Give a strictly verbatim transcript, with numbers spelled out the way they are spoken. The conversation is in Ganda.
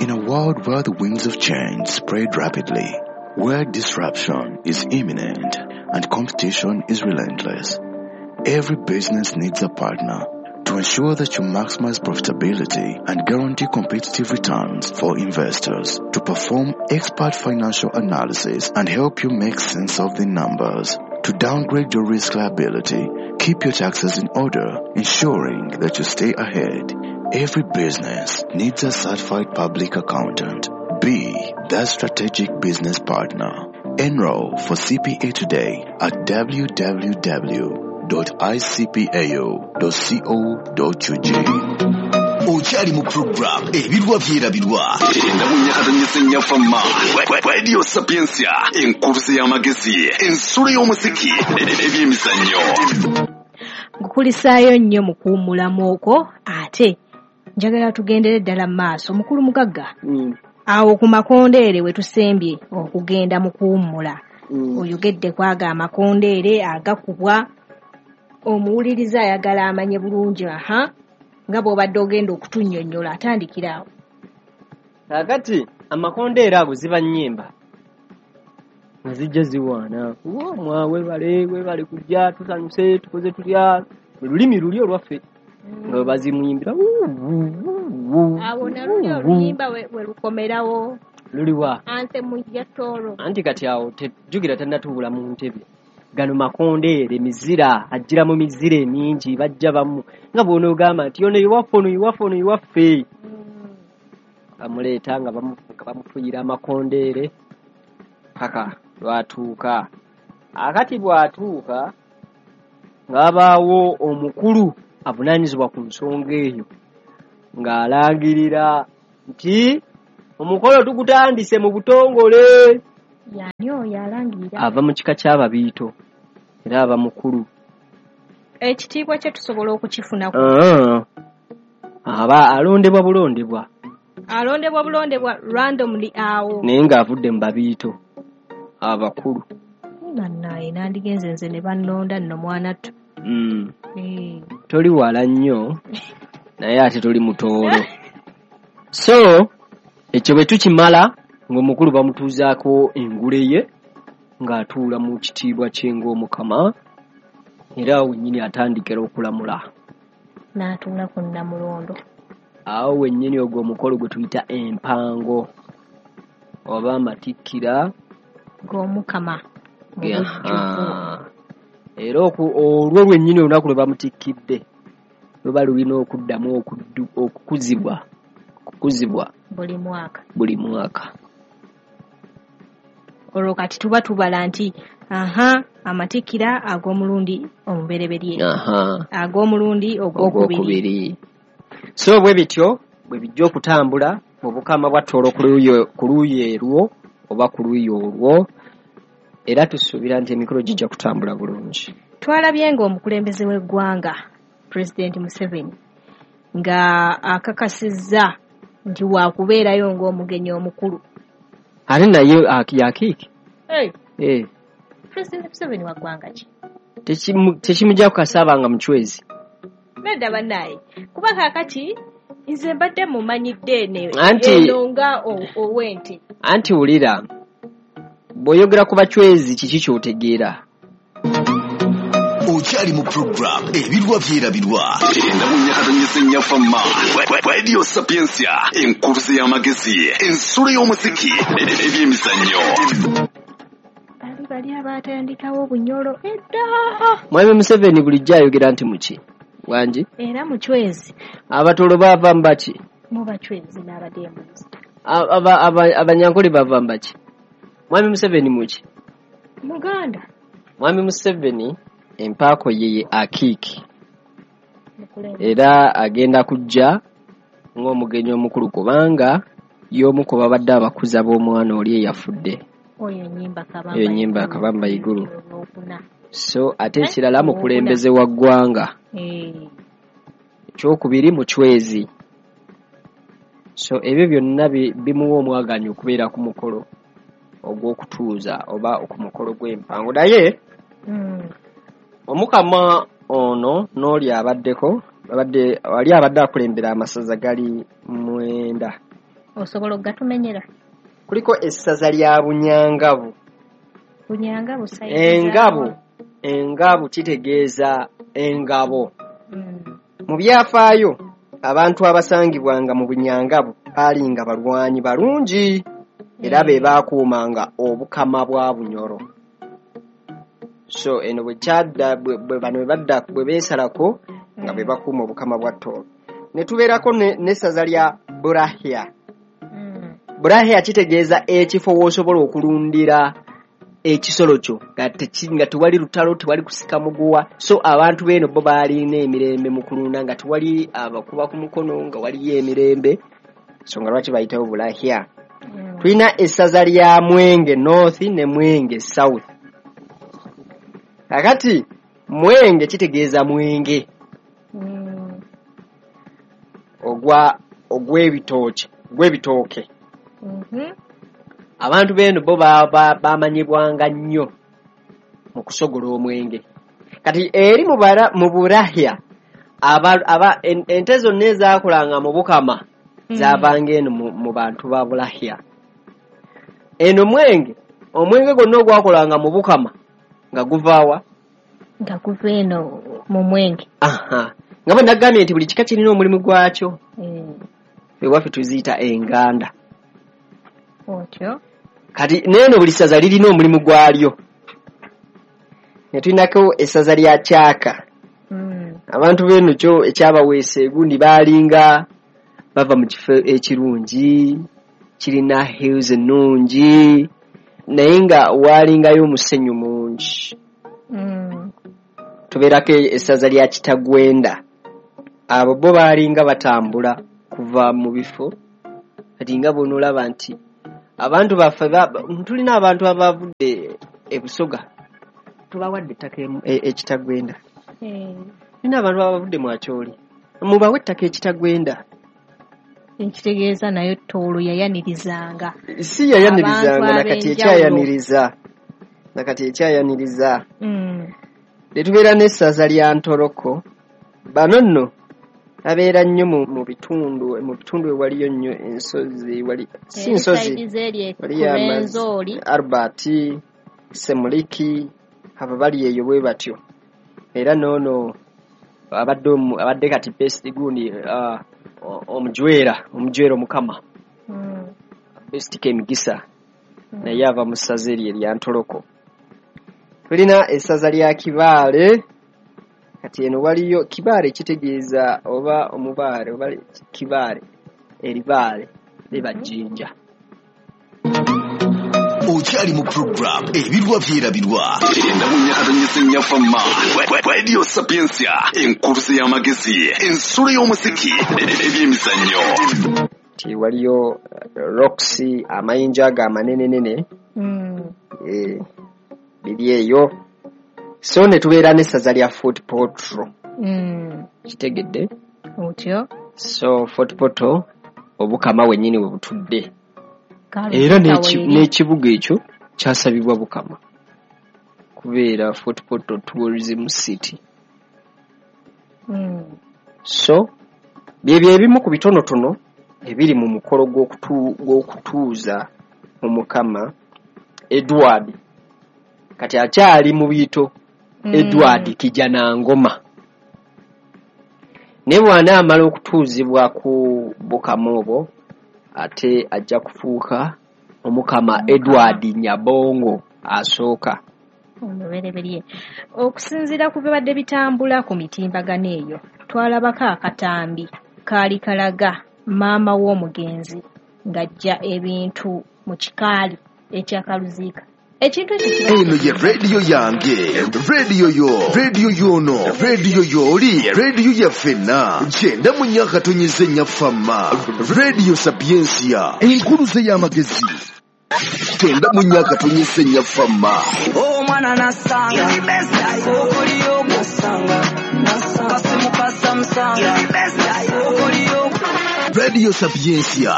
In a world where the winds of change spread rapidly, where disruption is imminent and competition is relentless, every business needs a partner to ensure that you maximize profitability and guarantee competitive returns for investors, to perform expert financial analysis and help you make sense of the numbers, to downgrade your risk liability, keep your taxes in order, ensuring that you stay ahead. Every business needs a certified public accountant. Be that strategic business partner. Enroll for C P A today at w w w dot i c p a u dot co dot u g. Okyali mu program ebirwa byerabirwa endamunyakatanyesennyafa Radio Sapientia, enkuruze y'amagezi, ensulo y'omuziki n'ebyemizannyo. Nkukulisaayo nnyo mu kuwummulamu okwo, ate njagala tugendere ddala mu maaso. Mukulu Mugagga, mm. awo ku makondeere we tusembye okugenda mu kuwummula, mm. oyogedde kwaga amakondeere agakubwa, omuwuliriza ayagala amanye bulungi aha nga bw'obadde ogenda okutunnyonnyola, atandikira awo. Kaakati amakondeere ago ziba nnyimba nga zijja ziwaana, mwa weebale weebale kujja, tusanyuse, tukoze tutya, mu lulimi luli olwaffe nga bwe bazimuyimbira. Awo naluli oluyimba we lukomerawo luliwa anthem ya Toro. Anti kati awo tejjukira tannatuula mu ntebe. Gano makondeere mizira, ajjira mu mizira emingi, bajja bamu nga bw'onoogamba nti ono iwaffe, ono iwaffe, ono iwaffe, bamuleeta nga bamufuuyira amakondeere paka lwatuuka. Akati bw'atuuka ng'abaawo omukulu avunaanyizibwa ku nsonga eyo ng'alangirira nti omukolo tugutandise mu butongole. Yani oyo alangirira ava mu kika ky'ababiito era aba mukulu. Ekitiibwa kye tusobola okukifuna aba alondebwa bulondebwa, alondebwa bulondebwa randomly awo, naye ng'avudde mu babiito abakulu. Bannaye nandigenze nze ne bannonda nno mwana ttu. Mm. Toli wala nnyo naye ate toli mutoolo. So ekyo bwe tukimala ng'omukulu bamutuuzaako engule ye ng'atuula mu kitiibwa kye ng'omukama, era awo wennyini atandikira okulamula n'atuula ku nnamulondo. Awo wennyini ogwo omukolo gwe tuyita empango oba amatikkira g'omukama mu bujjuvu. Era olwo lwennyini olunaku lwe bamutikkidde luba lulina okuddamu okukuzibwa okukuzibwa buli mwaka buli mwaka. Olwo kati tuba tubala nti aha amatikkira ag'omulundi omubereberye, ag'omulundi ogwokubiri. So bwe bityo bwe bijja okutambula mu bukama bwa Toro ku luuyi erwo oba ku luuyi olwo, era tusuubira nti emikolo gijja kutambula bulungi. Twalabye ng'omukulembeze w'eggwanga President Museveni nga akakasizza nti waakubeerayo ng'omugenyi omukulu. Ate naye yakiiki? Hey. Hey. President Museveni wa ggwanga ki? Tekimujja kukasaaba nga muchwezi. Nedda bannaye, kuba kaakati nze mbadde mumanyidde eno nga ow'ente. Anti wulira, bw'oyogera ku bachwezi kiki ky'otegeera? Okyali mu program ebirwa byerabirwa endamunyakatanyesennyafa Radio Sapientia, enkuruze y'amagezi, ensulo y'omuziki n'ebyemizannyo. Bali bali abaatandikawo obunyolo edda. Mwami Museveni bulijjo ayogera nti muki wangi era muchwezi. Abatolo bava mu baki? Mu bachwezi n'abadembuzi. Abanyankole bava mu baki? Mwami Museveni muki? Muganda. Mwami Museveni empaako ye ye akiiki, era agenda kujja ng'omugenyi omukulu kubanga y'omu ku babadde abakuza b'omwana oli eyafudde. Oyo Nnyimba Kabamba Iguru. So ate ekirala mukulembeze wa ggwanga, ekyokubiri muchwezi. So ebyo byonna bimuwa omwagaanya okubeera ku mukolo ogw'okutuuza oba ku mukolo gw'empango. Naye omukama ono n'oli abaddeko, abadde wali abadde akulembera amasaza gali mwenda. Osobola okugatumenyera? Kuliko essaza lya Bunyangabu. Bunyangabu sayizi Engabu, zaawo. engabu kitegeeza engabo. Mm. Mu byafaayo abantu abasangibwanga mu Bunyangabu baalinga balwanyi balungi era be baakuumanga obukama bwa Bunyoro. So eno bwe kyadda bwe bwe bano bwe badda bwe beesalako nga bwe bakuuma obukama bwa Tooro. Ne tubeerako ne- n'essaza lya Burahya. Mm. Burahya kitegeeza ekifo w'osobola okulundira ekisolo kyo nga teki- nga tewali lutalo, tewali kusika muguwa. So abantu b'eno bo baalina emirembe mu kulunda nga tewali abakuba ku mukono, nga waliyo emirembe. So nga lwaki bayitawo Burahya. Mm. Tulina essaza lya Mwenge North ne Mwenge South. Kakati Mwenge kitegeeza mwenge Mm. ogwa ogw'ebitooke ogw'ebitooke. Mhm. Abantu b'eno bo ba- ba- bamanyibwanga nnyo mu kusogola omwenge. Kati eri mu bara- mu Burahya aba, aba, en, ente zonna ezaakolanga mu Bukama Mm. zaavanga eno mu, mu bantu ba Burahya. Eno mwenge, omwenge gwonna ogwakolanga mu Bukama nga guvaawa? Nga guva eno mu mwenge. Aha. Nga bwe nagambye nti buli kika kirina omulimu gwakyo. Eh, Ewaffe tuziyita enganda. Otyo. Kati n'eno buli ssaza lirina omulimu gwalyo. Ne tulinako essaza lya Kyaka. Mm. Abantu b'eno kyo ekyabaweesa egundi baalinga bava mu kifo ekirungi, kirina hills ennungi, naye nga waalingayo omusenyu mungi. Mm. Tubeerako essaza lya Kitagwenda. Abo bo baalinga batambula kuva mu bifo. Kati nga bw'onoolaba nti abantu baffe ba- tulina abantu abavudde e Busoga, tubawadde ettaka emu- e- e Kitagwenda. Eh, Tulina abantu abavudde mu Acholi, mubawe ettaka e Kitagwenda. Ekitegeeza nayo Tooro yayanirizanga. Si yayanirizanga, Abantu nakati ab'enjawulo. ekyayaniriza, nakati ekyayaniriza. Mm. Ne tubeera n'essaza lya Ntoroko. Bano nno babeera nnyo mu, mu bitundu, mu bitundu ewaliyo nnyo ensozi, wali si Eri nsozi, sayidi z'eri waliyo amazzi, Rwenzori. Albert, Semuliki, abo bali eyo bwe batyo. Era n'ono abadde omu- abadde kati best gundi uh, omujwera, omujwera omukama Mm. Best Kemigisa, Mm. naye ava mu ssaza eryo erya Ntoroko. Tulina essaza lya Kibaale. Kati eno waliyo Kibaale kitegeeza oba omubaale oba Kibaale, eribaale liba jjinja. Okyali mu program Ebirwa Byerabirwa. Kyenda mu nnya katonyeze nnya Fama. Radio Sapientia, enkuluze y'amagezi, ensulo y'omuziki, ebyemizannyo. Ti waliyo eh, rocks, amayinja ago amanenenene, Mm. eh, biri eyo. So ne tubeera n'essaza lya Fort Portal. Mm. Kitegedde? Otyo. So Fort Portal obukama wennyini we butudde. Kaluta Era n'eki- weeri. n'ekibuga ekyo kyasabibwa Bukama kubeera Fort Portal Tourism City. Mm. So byebyo ebimu ku bitonotono ebiri mu mukolo gw'okutu- gw'okutuuza omukama Edward. Kati akyali mu biyito Mm. Edward Kijanangoma. Naye bw'anaamala okutuuzibwa ku bukama obwo, ate ajja kufuuka omukama Omukama. Edward Nyabongo asooka. Omubereberye. Okusinziira ku bibadde bitambula ku mitimbagano eyo, twalabako akatambi kaali kalaga maama w'omugenzi ng'aggya ebintu mu kikaali ekyakaluziika. Ekintu ekyo kiba Eno ye rediyo yange, rediyo yo, rediyo yono, rediyo yooli, rediyo yaffenna. Kyenda mu nnya katonyeze nnya Fama. Radio Sapientia, enkuluze y'amagezi. Kyenda mu nnya katonyeze nnya Fama. Omwana nasanga okoliyo nasanga kasimu ka Samsung okoliyo Radio Sapientia.